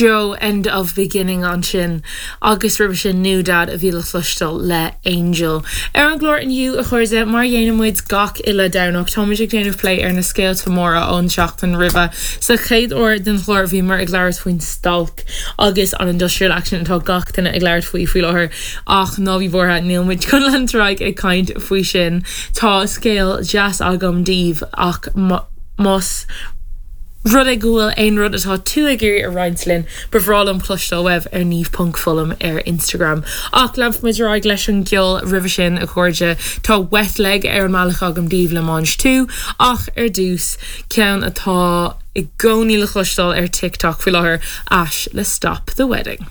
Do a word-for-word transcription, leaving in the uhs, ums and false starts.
Joe End of Beginning ansin agus roimhe sin NewDad a bhí le cloisteáil le Angel. Ar an gclár inniu a chairde mar a dhéanann muid gach uile Domhnach táimid ag déanamh plé ar na scéalta móra ón seachtain roimhe. Sa chéad uair den chlár bhíomar ag labhairt faoin stailc agus an industrial action atá gach duine ag labhairt faoi faoi láthair ach ná bí buartha níl muid chun leanúint ar aghaidh ag caint faoi sin Tá scéal deas agam daoibh ach más rud é go bhfuil aon rud atá tú ag iarraidh a roinnt linn ba bhreá liom cloisteáil uaibh ar Niamh ponc Fullam ar Instagram. Ach leanfaimid ar aghaidh leis an gceol roimhe sin a chairde tá Wet Leg ar an mbealach agam daoibh le Mange Two ach ar dtús ceann atá i gcónaí le cloisteáil ar TikTok faoi láthair Ash le Stop the Wedding.